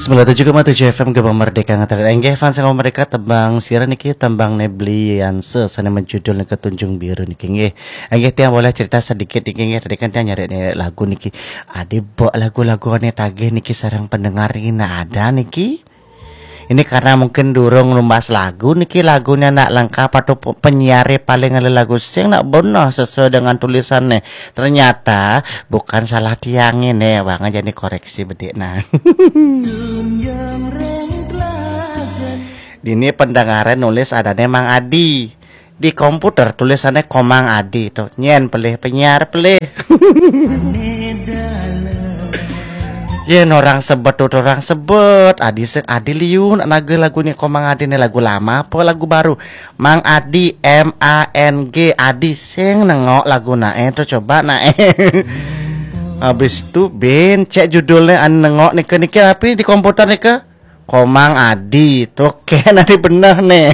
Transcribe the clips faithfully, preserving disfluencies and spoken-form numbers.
Sembilan tujuh koma tujuh F M Gema Merdeka ngatakan enggih fans Gema Merdeka, tembang sira niki tembang Neblianse sane menjudul nika Tunjung Biru niki nggih. Enggih tiang boleh cerita sedikit niki nggih, tadi kan tiang nyari lagu niki. Adi bok lagu-lagu ane tagih niki sareng pendengar niki nak ada niki. Ini karena mungkin durung numbas lagu niki, lagunya nak lengkap atau pe- penyiar paling ada lagu sing nak benar sesuai dengan tulisannya. Ternyata bukan salah tiang ini, bang aja nih koreksi bedik nah. Dini pendengaran nulis adane Mang Adi. Di komputer tulisannya Komang Adi tuh. Nyen pelih penyiar pelih. Yen orang sebet tuh orang sebet. Adi se Adi liun naga lagu ni Komang Adi ni lagu lama apa lagu baru? Mang Adi M A N G Adi sing nengok lagu nae tuh coba nae. Habis tu bin cek judulnya an nengok nike nike tapi di komputer nike Komang Adi tuh kena di beneh nih.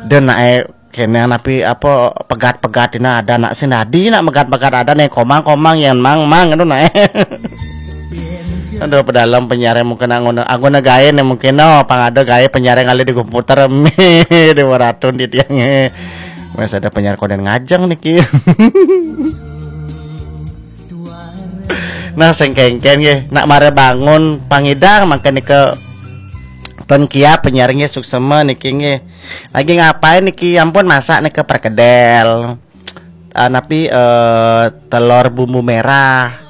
Dan nae kena napi apa pegat-pegat ini ada nak sing Adi nak megat-pegat ada nih Komang Komang yang mang mang itu nae. Aduh pedalam penyiar mungkin anggona anggona gae nih mungkin no pang ada gae penyiar kali di komputer mi di waratun di tiangnya. Mas ada penyiar koden ngajeng niki. Nah sing kengken nggih nak mare bangun pangidang mangke nika ten kia penyiar nggih suksema niki nggih. Lagi ngapain niki ampun masak nika perkedel. Ah, napi eh, telur bumbu merah.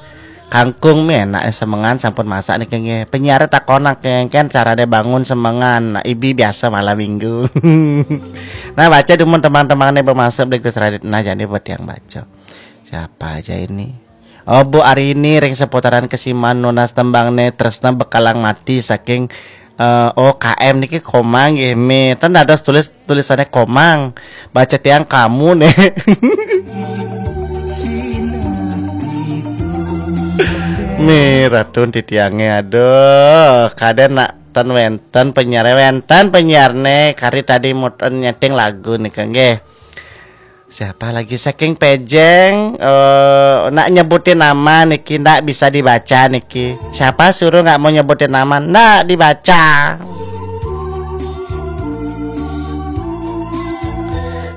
Kangkung mi enak semengan sampun masak niki nggih. Penyiar takonak kengken carane bangun semengan. Nah, ibi biasa malam minggu. Nah baca dumun teman-teman nih bermasuk beli Gus Radit. Nah jadi buat yang baca. Siapa aja ini? Oh Bu Arini ring seputaran kesiman nunas tembang ne tresna bekalang mati saking eh, O K M niki Komang nggih mi. Ten dados tulis tulisannya Komang. Baca tiang kamu nih. Mi ratun titiange aduh kaden nak ten wenten penyiar wenten penyiar ne kari tadi muten nyeting lagu nih nggih. Siapa lagi saking pejeng eh nak nyebutin nama niki ndak bisa dibaca niki. Siapa suruh nggak mau nyebutin nama ndak dibaca.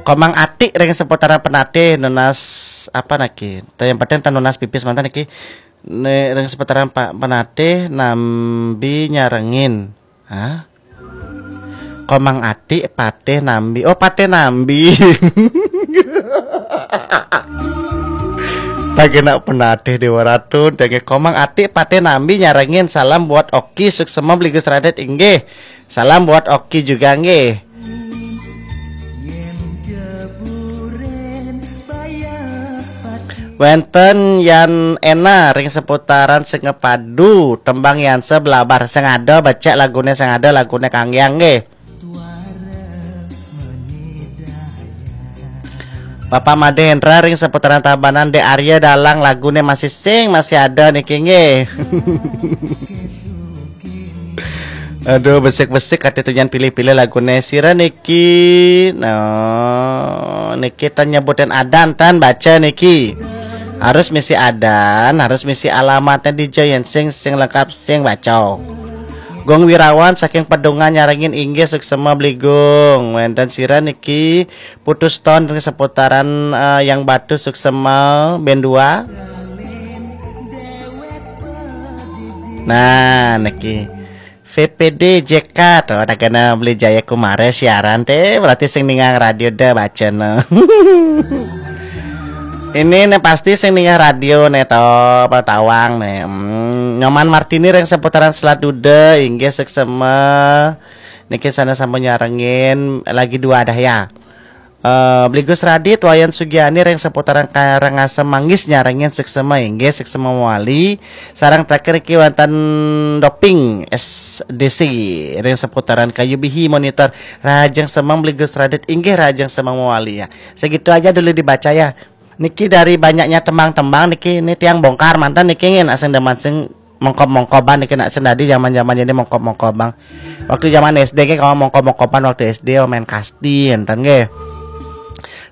Komang Atik ring seputaran penatih nunas apa naki? Yang penting tan nunas pipis mantan niki. Ne ring seputaran pa, penatih nambi nyarengin. Hah? Komang Atik patih nambi. Oh patih nambi. Tagena penatih Dewa Ratu, denge Komang Atik patih nambi nyarengin salam buat Oki suksema beligus radet inggih. Salam buat Oki juga nggih. Wenten Yan Ena ring seputaran Sengepadu, tembang Yan sebelabar sing ada becek lagune sing ada lagune Kang Yang nggih. Bapak Made Hendra ring seputaran Tabanan Dek Arya dalang lagune masih sing masih ada niki nggih. Aduh besik-besik kate tunyan pilih-pilih lagune sira niki. No, niki tan nyebutin adan tan baca niki. Harus misi adan, harus misi alamatnya di Jayan sing sing lengkap sing baca. Gong Wirawan saking Pedungan nyarengin inggih suksema beligung. Wenten sira niki putus ton ring seputaran eh, yang batu suksema bendua. Nah, niki V P D J K tuh ada kena beli Jaya Kumara siaran teh berarti sing ningang radio dah baca no. Ini nih pasti sing ningang radio nih to pertawang nih. Hmm, Nyoman Martini ring seputaran Selat Duda inggih seksema. Niki sana sampun nyarengin lagi dua dah ya. Eh, Beli Gus Radit, Wayan Sugiani ring seputaran Karangasem Manggis nyarengin seksema inggih seksema mawali. Sarang terakhir iki wonten Doping S D C ring seputaran Kayu Bihi monitor. Rajeng semeng Beli Gus Radit inggih rajeng semeng mawali ya. Segitu aja dulu dibaca ya. Niki dari banyaknya tembang-tembang niki ini tiang bongkar mantan niki ngin asing deman sing mongkob-mongkoban niki nak sendadi zaman-zaman ini mongkob-mongkoban. Waktu zaman S D ke kalau mongkob-mongkoban waktu S D oh, main kasti enten nggih.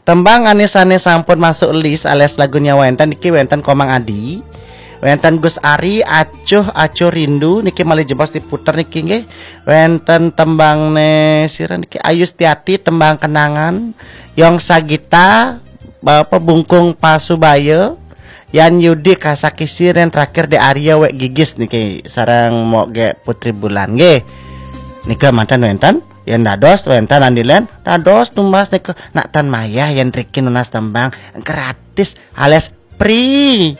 Tembang ane sane sampun masuk list alias lagunya wenten niki wenten Komang Adi. Wénten Gus Ari, Acuh, Acuh Rindu niki malih jebos diputer niki nggih. Wénten tembang né sira niki, Ayu Setiati, Tembang Kenangan, Yong Sagita, Bapak Bungkung Pasubaya, Yan Yudi, Kasakisir, yang terakhir di Arya Wek Gigis niki sareng Mok Gek Putri Bulan nggih. Nika manten wénten, yang dados wénten andilen, dados tumbas nika nak tan mayah yang riki nunas tembang gratis alias free.